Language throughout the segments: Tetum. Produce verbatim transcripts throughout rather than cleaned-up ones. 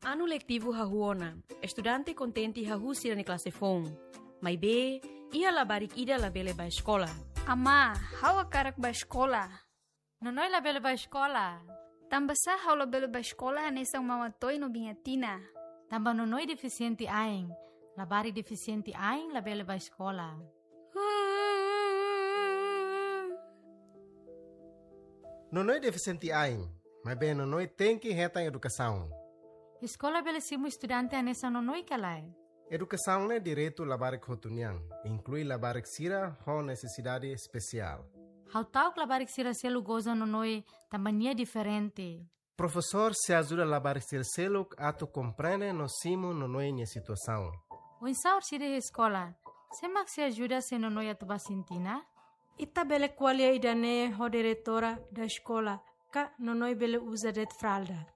Anu letivu hahú ona, estudante kontente hahú sira-nia klase foun. Maibé, iha labarik ida labele bá eskola. Amá, ha'u hakarak bá eskola. Nonoi labele bá eskola. Tanbasá ha'u labele bá eskola hanesan Mama Toi no Biña Tina? Tanba Nonoi defisiente ain. Labarik defisiente ain labele bá eskola. Nonoi defisiente ain, maibé Nonoi tenke hetan edukasaun. Eskola bele simu estudante hanesan Nonoi ka lae? Edukasaun ne'e direitu labarik hotu nian, inklui labarik sira ho nesesidade espesiál. Ha'u ta'uk labarik sira seluk goza Nonoi tanba nia diferente. Profesór sei ajuda labarik sira seluk atu komprende no simu Nonoi nia situasaun. Oinsá orsida iha eskola? Sé mak sei ajuda se Nonoi atu bá sintina? Ita bele ko'alia ida-ne'e ho diretora da eskola, ka Nonoi bele uza de'it fralda.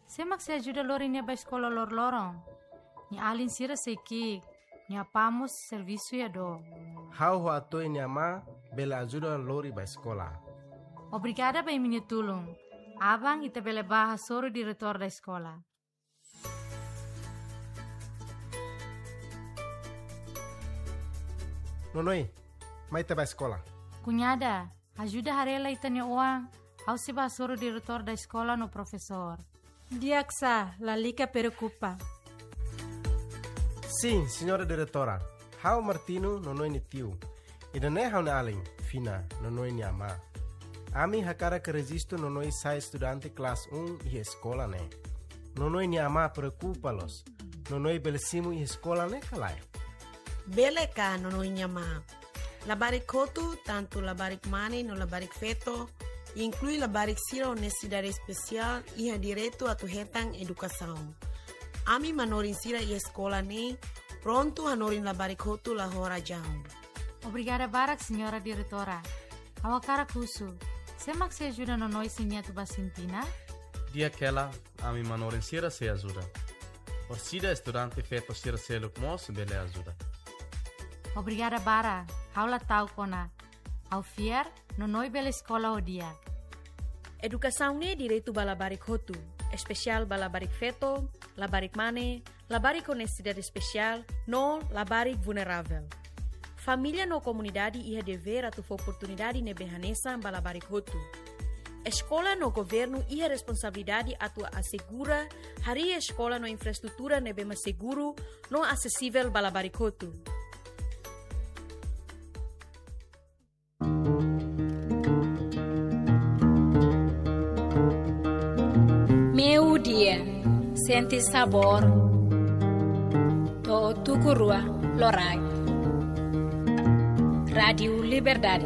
Sé mak sei ajuda lori nia bá eskola loroloron? Nia alin sira sei ki'ik, nia apá mós servisu iha dook. Ha'u ho Atoi nia amá bele ajuda lori bá eskola. Obrigada ba imi-nia tulun. Aban ita bele bá hasoru diretór da eskola. Nonoi, mai ita bá eskola. Kuñada, ajuda haree lai ita-nia oan, ha'u sei bá hasoru diretór da eskola no profesór. Di'ak sá, lalika preokupa. Sin, señora diretora. Ha'u Martino, Nonoi nia tiu. Ida-ne'e ha'u-nia alin, Fina, Nonoi nia amá. Ami hakarak rejistu Nonoi sai estudante klase um iha eskola ne'e. Nonoi nia amá preokupa loos. Nonoi bele simu iha eskola ne'e ka lae? Bele ka, Nonoi nia amá. Labarik hotu, tantu labarik mane no labarik feto, inklui labarik sira ho nesesidade espesiál, iha direitu atu hetan edukasaun. Ami manorin sira iha eskola ne'e prontu hanorin labarik hotu la ho razaun. Obrigada barak, señora diretora. Ha'u hakarak husu, sé mak sei ajuda Nonoi se nia atu bá sintina? Di'ak hela, ami manorin sira sei ajuda. Orsida estudante feto sira seluk mós bele ajuda. Obrigada barak, ha'u la ta'uk ona. Ha'u fiar, Nonoi bele eskola ho di'ak. Edukasaun ne'e direitu ba labarik hotu, espesiál ba labarik feto, labarik mane, labarik ho nesesidade espesiál, no labarik vulneravel. Família no komunidade iha devér atu fó oportunidade ne'ebé hanesan ba labarik hotu. Eskola no governu iha responsabilidade atu asegura harii eskola no infraestrutura ne'ebé mak seguru no asesivel ba labarik hotu. Meiudia, sente sabór to'o tuku rua loraik. Rádiu Liberdade,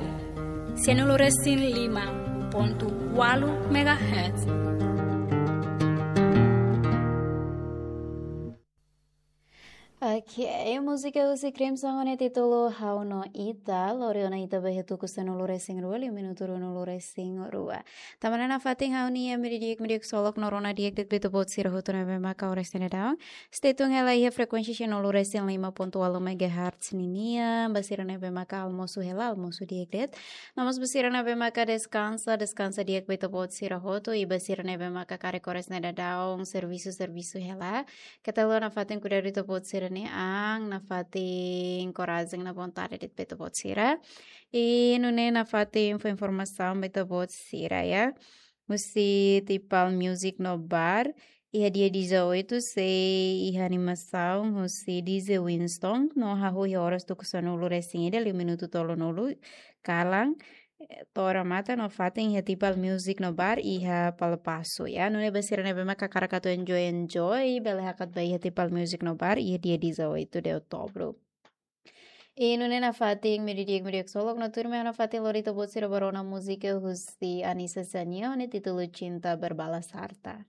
sanulu resin lima pontu ualu megahertz. Ok, múzika husi Crimson ho nia títulu Ha'u no Ita, lori ona ita ba iha tuku sanulu resin rua, liu minutu ruanulu resin rua. Tanba ne'e nafatin ha'u-nia imi di'ak, imi di'ak ksolok no rona di'ak de'it ba ita-boot sira hotu ne'ebé maka oras ne'e daudaun. Stay tune hela iha frekuénsia sanulu resin lima pontu ualu megahertz ninian, ba sira ne'ebé maka almosu hela, almosu di'ak de'it. No mós ba sira ne'ebé maka deskansa, deskansa di'ak ba ita-boot sira hotu, i ba sira ne'ebé maka karik oras ne'e daudaun servisu, servisu hela. Keta haluha nafatin kuidadu ita-boot sira-nia an, nafatin korajen, na vontade de'it ba ita-boot sira. I nune'e nafatin fó informasaun ba ita-boot sira, ya. Husi Tipal Music no Bar, iha dia dezoito sei iha animasaun husi D J Winston, no hahú iha oras tuku sanulu resin ida, liu minutu tolunulu kalan, eh, to'o remata nafatin iha Tipal Music no Bar iha Palapasu, ya. Nune'e ba sira ne'ebé maka hakarak atu enjoy, enjoy, bele hakat ba iha Tipal Music no Bar iha dia dezoito de outubro. I nune'e nafatin imi di'ak, imi di'ak ksolok no tuirmai nafatin lori ita-boot sira ba rona múzika husi Anissa Xania ho nia títulu Cinta Berbalas Harta.